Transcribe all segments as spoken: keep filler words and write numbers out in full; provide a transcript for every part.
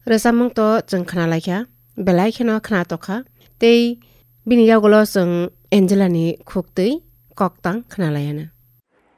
Rwchapmung to chwng khna lai kha, belai kheno khna tokha. Tei bini yagulo chwng Angela ni khuk twi koktang khna lai anw.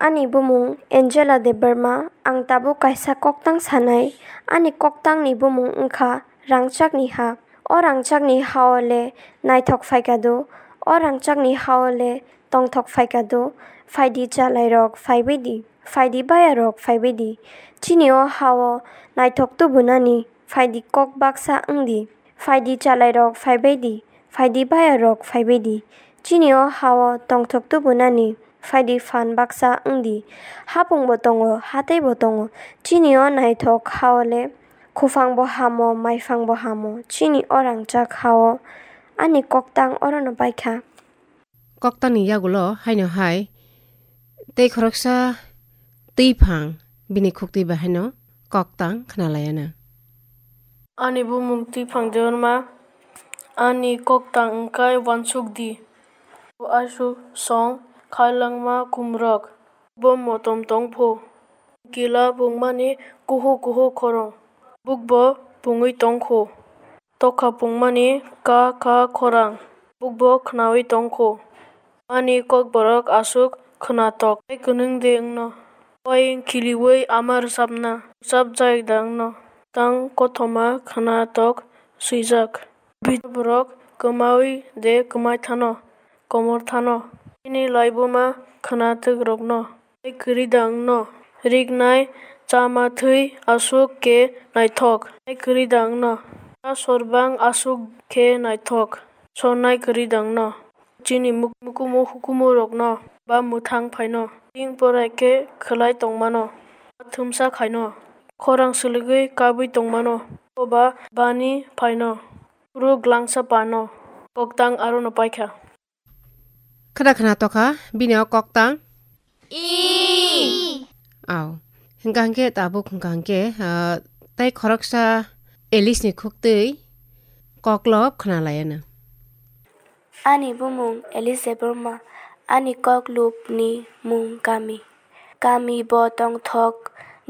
Ani bumung Angela Debbarma, ang tabuk kaisa koktang sanai. Ani koktang ni bumung wngkha Rangchak ni Ha. O rangchak ni ha o le naithok phaikha do, o rangchak ni ha o le tongthok phaikha do, phaidi chalai rok phaibai di, phaidi baya rok phaibai di. Chini o ha o naithok tubunani, phaidi kok baksa wng di, phaidi chalai rok phaibai di, phaidi baya rok phaibai di. Chini o ha o tongthok tubunani, phaidi phan baksa wng di. Hapung bo tongo, hatei bo tongo. Chini o naithok ha o le, khufang bo hamo, maiphang bo hamo. Chini o rangchak ha o ani koktang oro no pai kha. Koktang ni yagulo haino hai tei khoroksa twiphang bini khuk twi bai haino koktang khna lai anw. Ani bumung Twiphang Debbarma, ani koktang wngkha uansuk di. Aswk song khailangma khumrok, bo motom tongphu. Kila pungmani kuhu kuhu khorang, bukbo pungwi tongkhu. Tokha pungmani ka ka khorang, bukbo khnawi tongkhu. Ani kokborok aswk khnatok, tei kwnwng de wngno. Wayeng khiliwi ama rwchapna, rwchapjak da wngno. Tang kothoma khnatok swijak. Bini borok kwmawi de kwmai thano, komor thano. Bini laibuma khnatok rokno. Tei kwrwi da wngno. Riknai chama thwi aswk khe naithok. Tei kwrwi da wngno. A sorbang aswk khe naithok. Sonnai kwrwi da wngno. Chini muk-, mukumu hukumu rokno ba mwthang phaino. Ting porai khe khwlai tongmano. Thumsa khaino. Khorang swlwgwi kabwi tongmano. Oba bani phaino. Phuru glangsa pano. Koktang arono paikha. Khada khna tokha bini o koktang. Aw. Hwnkha hwnkhe tabuk hwnkha hwnkhe, ah, tei khoroksa Alice ni khuk twi koklop khna lai anw. Ani bumung Alice Debbarma, ani koklop ni mung Kami. Kami bo tongthok,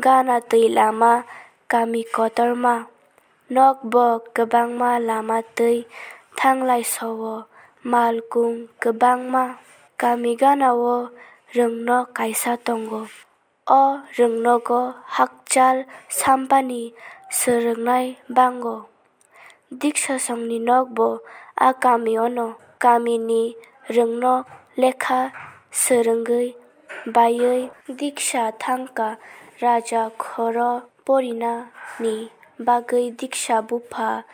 gana twi lama, kami kotorma. Nokbo kwbangma lama twi thanglai so-o, malkung kwbangma. Kami gana-o rwngno kaisa tongo. O rwngnogo hakchal sampani swrwngnai bango. Diksasongni nokbo a kami-ono. Kamini rwngno lekha swrwngwi baiwi diksa thangkha, raja khoro porinani bagwi diksa bupha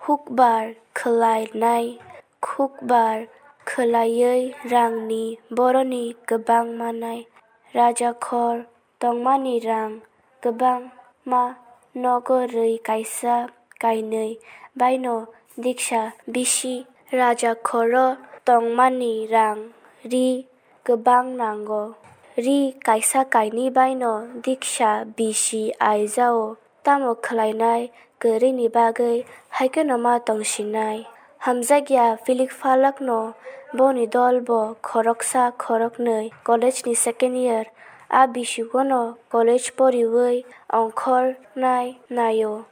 hukbar khwlainai, hukbar khwlaiwi rangni boroni kwbang manai. Raja khor tongmani rang kwbangma nogo rwi kaisa kainwi baino diksa bisi. Raja khoro tongmani rang ri kwbang nango. Ri kaisa kainwi baino diksa bisi aijao. Tamo khwlainai kwrwini bagwi haikheno ma tongsinai. Hamjakya Philip Falakno boni dol bo khoroksa khoroknwi college ni second year a bisigono college poriwi ongkhornai naio.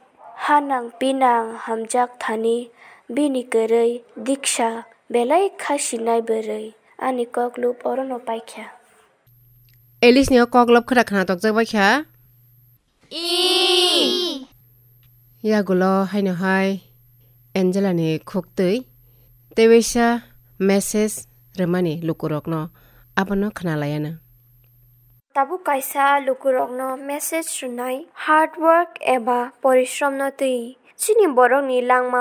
Hanang pinang hamjak thani bini kwrwi diksa belai khasinai bwrwi. Ani koklop orono paikha. Alice ni o koklop khwra khna tokjak baikha. Yagulo haino hai Angela ni khuktwi tewaisa message rwmani lukurokno abono khna laianw. Tabuk kaisa lukurokno message rwnai, hard work eba porishrom no twi chini borokni langma